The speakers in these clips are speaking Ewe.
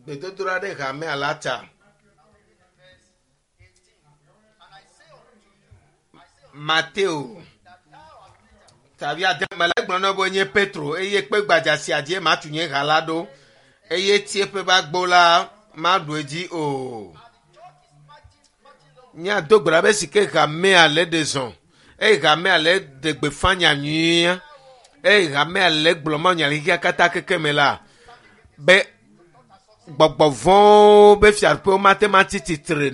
Gbedodoɖa ɖe hamea la ta. Verse 18. And I say unto you, I say unto Mateo you that thou art Peter, tabi ade me la egblɔ na be nye Petro eye kpe gbadza sia dzie matu nye ha la ɖo eye tieƒe ƒe agbo la maɖu edzi o. and the church is marching, marching on. Míado gbe ɖa be si ke hamea le ɖe zɔn eye hamea le ɖe gbeƒã nya nyuia eye hamea le gblɔ ma nya le xexea katã keke me la be gbɔgbɔ vɔ̃wo be fiaɖuƒewo mate ma tsi tsitre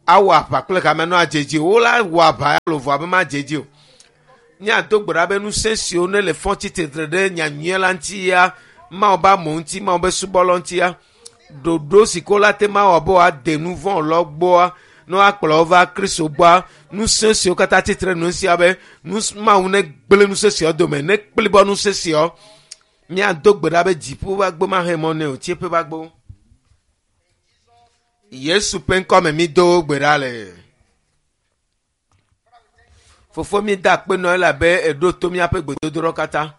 awɔ aʋa kple hamea no adze dzi o. Wo la wɔ aʋa alo vɔa be madze dzi o. Míado gbe ɖa be ŋusẽ siwo ne le fɔ tsi tsitre ɖe nyanyuia la ŋuti ya Mawu be amewo ŋuti Mawu be subɔlawo ŋuti ya ɖoɖo si ke wola te ma wɔ be woade nu vɔ̃ lɔ gbɔa ne woakplɔ wo va Kristo gbɔa ŋusẽ siwo katã tsitre nu sia be nu Mawu ne gblẽ ŋusẽ siawo dome ne kplibɔ ŋusẽ siawo míado gbe ɖa be dziƒo ƒe agbo mahe mɔ nɛ o tsieƒe ƒe agbo. Yesu ƒe ŋkɔme mi do gbe ɖa le. Fofo mi da akpe nɔ elabe eɖo to míaƒe gbedodoɖɔ katã.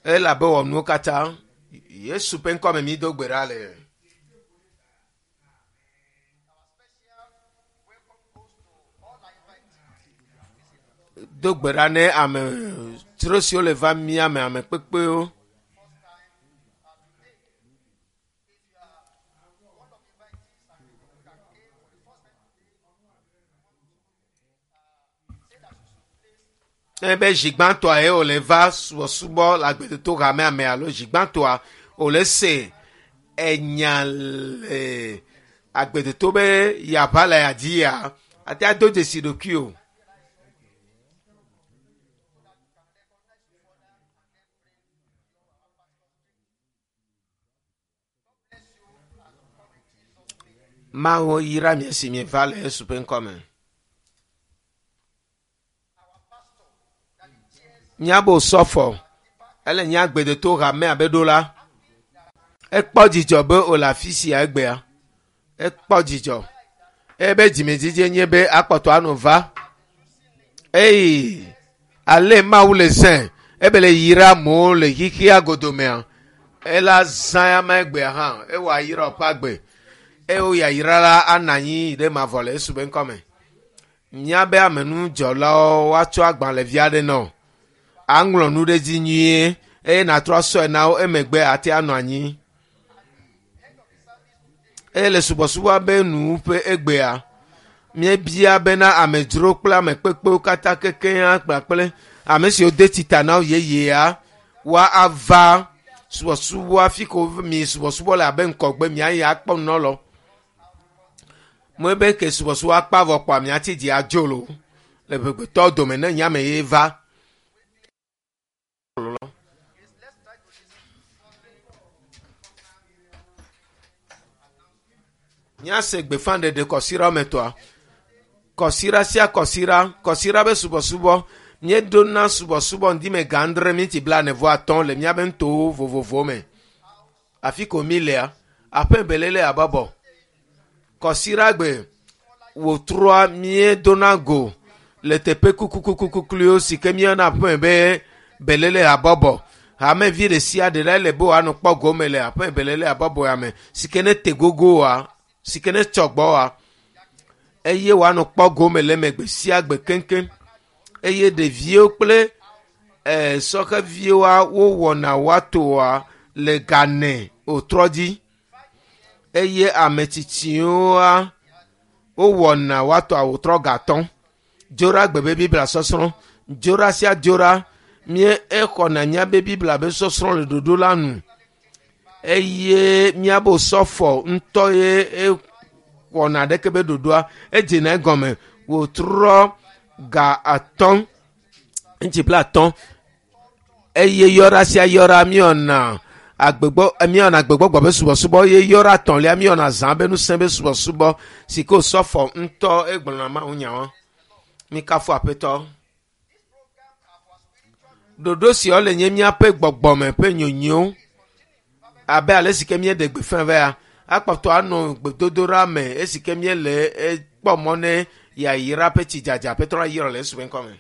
Elabe wɔ nuwo katã. Yesu ƒe ŋkɔme mi do gbe ɖa le. Our special welcome goes to all our invitees. Do gbe ɖa ne ame dzro siwo le va mía me ame kpekpewo. First time today. If you are one of the invitees and the people that came for the first time today, say that you should place Ne be zi gbãtɔa ye wòle va subɔsubɔ le agbedodo hamea me alo zi gbãtɔa wòle se enya le agbedodo be yeaʋa le ya dzi ya ate ado dzesi ɖokui o. Mawu yra mi esi mieva le Yesu ƒe ŋkɔme. Míabo sɔfɔ ele nye agbedodo hamea be ɖo la ekpɔ dzidzɔ be wòle afi sia egbea ekpɔ dzidzɔ ebe dzimedzidze nye be akpɔtɔ anɔ va eye ale Mawu le zẽ ebe le yra amewo le xixia godomea ela zã ya ma egbea hã ewɔ ayra woƒe agbe eye wo yayra la anɔ anyi ɖe mavɔ le Yesu be ŋkɔme. Míabe amenudzɔlawo woatsɔ agbalẽvi aɖe nɔ aŋlɔ nu ɖe dzi nyuie eye nàtrɔ asɔe na wo emegbe ate anɔ anyi. Eye le subɔsubɔa be nuwuƒe egbea míebia bena amedzro kple ame kpekpewo katã kekeŋ kpakple ame siwo de tsita na wo yeyea woa ava subɔsubɔa fi ko mi subɔsubɔ le abe ŋkɔgbe miayi akpɔ nunɔlɔ. Mo be ke subɔsubɔ akpa vɔ kpɔa miatsi dzi adzo lo le ʋegbetɔwo dome ne nyame ye va. Let's try to listen to Míase gbeƒãɖeɖe kɔsiɖa wɔme etɔ̃a. Kɔsiɖa sia kɔsiɖa, kɔsiɖa be subɔsubɔ, míeɖona subɔsubɔ ŋdime ga adre minti blaene-vɔ-atɔ̃ le míabe nutowo vovovowo me. Afi ko mi lea, aƒe belele habɔbɔ. Kɔsiɖagbe wòtrɔa míedona go le teƒe kukukukukukluiwo si ke míeyɔna aƒe be belele habɔbɔ. Hamevi ɖe sia ɖe la ele be wòanɔ kpɔ gome le aƒe belele habɔbɔ ya me si ke ne te gogo oa, si ke ne tsɔ gbɔ oa eye wòanɔ kpɔ gome le eme gbe sia gbe keŋkeŋ. Eye ɖeviwo kple sɔheviwoa wowɔna woatoa le gane wòtrɔ dzi eye ame tsitsiwoa wowɔna woatoa wòtrɔ gatɔ̃. Dzoɖa gbe be Biblia sɔsrɔ̃. Dzoɖa sia dzoɖa mía exɔna míabe Biblia be sɔsrɔ̃ le ɖoɖo la nu eye míabe sɔfɔ ŋutɔ ye ewɔna ɖeke be ɖoɖoa edzena egɔme wòtrɔ ga atɔ̃ ŋtsi bla atɔ̃ eye yɔɖa sia yɔɖa míewɔna agbegbɔ míewɔna agbegbɔgbɔ be subɔsubɔ eye yɔɖa etɔ̃lia míewɔna zã be ŋusẽ be subɔsubɔ si ke wòsɔfɔ ŋutɔ egblɔna Mawu nyawo. Mikafu Aƒetɔ. Ɖoɖo siawo le nye míaƒe gbɔgbɔme ƒe nyonyo abe ale si ke míeɖe gbeƒã va ya akpɔtɔ anɔ gbedodoɖa me esi ke míele ekpɔ mɔ ne yayra ƒe tsidzadza Aƒetɔ la yra le Yesu ƒe ŋkɔme.